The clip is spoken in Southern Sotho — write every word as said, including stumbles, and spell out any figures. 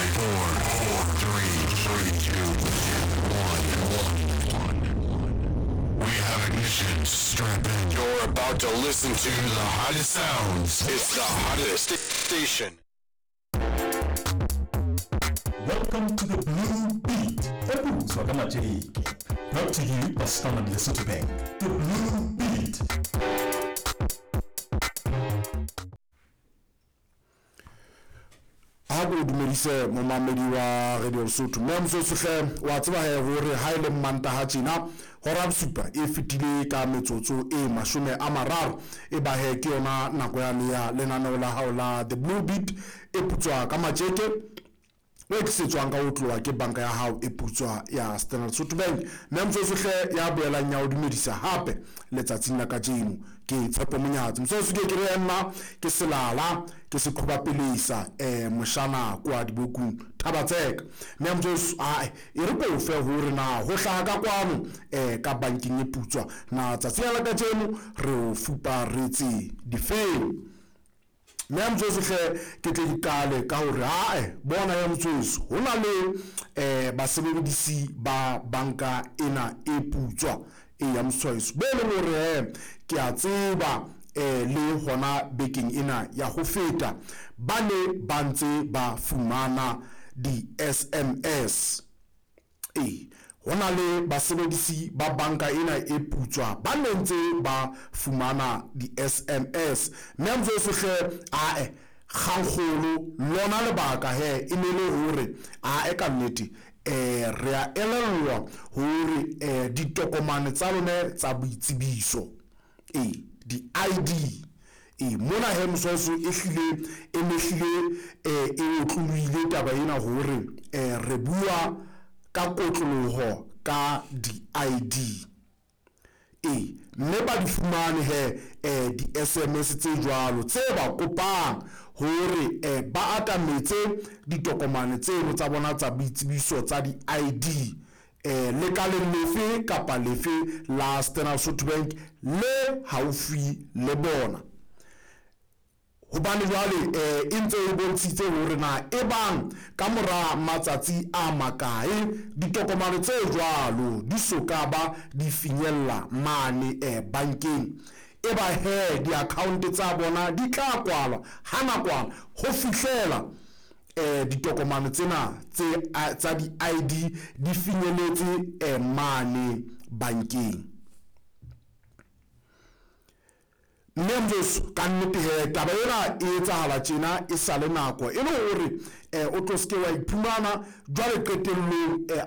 Five, four, four, three, three, two, one, one. We have ignition. Strap in. You're about to listen to the hottest sounds. It's the hottest station. Welcome to the Blue Beat, e putswa ka matjeke. Brought to you by Standard Lesotho Bank. The Blue Beat. Ha ko dumedise momamedi wa Radio Lesotho. Mme motsosohle wa tseba he hore ha ile Mantaha tjena hora bosupa e fetile ka metsotso e mashome a mararo, e ba he ke yona nako yane ya lenaneo la hao la The Blue Beat e putswa ka matjeke, o tlisetswang ka ho tloha ke banka ya hao e putswa ya Standard Lesotho Bank. Mme motsosohle ya boelang ya o dumedisa hape letsatsing la kajeno ke Tshepo Monyatsi. Motsoso ke re nna ke selala ke seqhobapelesa eh moshana kwa dibokung Thabatseka. Mme motsoso a e re ko fe hore na ho hlaha ka kwano eh ka bankeng e putswa na tsatsi la kajeno re o fuparetse difeng. Mme motsosohle ke tle dikale ka hore ae bona ya motsoso ho na le eh basebedisi ba banka ena e putswa e ya motsoso be le hore ke a tseba eh le hona bekeng ena ya ho feta ba ne ba ntse ba fumana di S M S. E hona le basebedisi ba banka ena e putswa ba ne ntse ba fumana di S M S. Mme motsosohle ae kgangkgolo lona lebaka he e ne le hore ae ka nnete eh re a elellwa hore eh ditokomane tsa lone tsa boitsebiso e di I D e mona he motsoso e hlile e mehlile eh e otlolohile taba ena hore eh re bua ka kotloloho ka di I D e mme ba di fumane he eh di S M S tse jwalo tse ba kopang hore eh ba atametse ditokomane tseno tsa bona tsa boitsebiso tsa di I D eh lekaleng lefe kapa lefe la Standard Lesotho Bank le haufi le bona. Hobane jwale eh e ntse e bontshitse hore na e bang ka mora matsatsi a makae ditokomane tse jwalo di soka ba di finyella mane eh bankeng, e ba he di-account tsa bona di tla kwalwa ha nakwana ho fihlela eh ditokomane tsena tse tsa di I D di finyeletse eh mane bankeng. Mme motsoso ka nnete he taba ena e etsahala tjena e sale nako e le hore eh o tlo seke wa iphumana jwale qetellong eh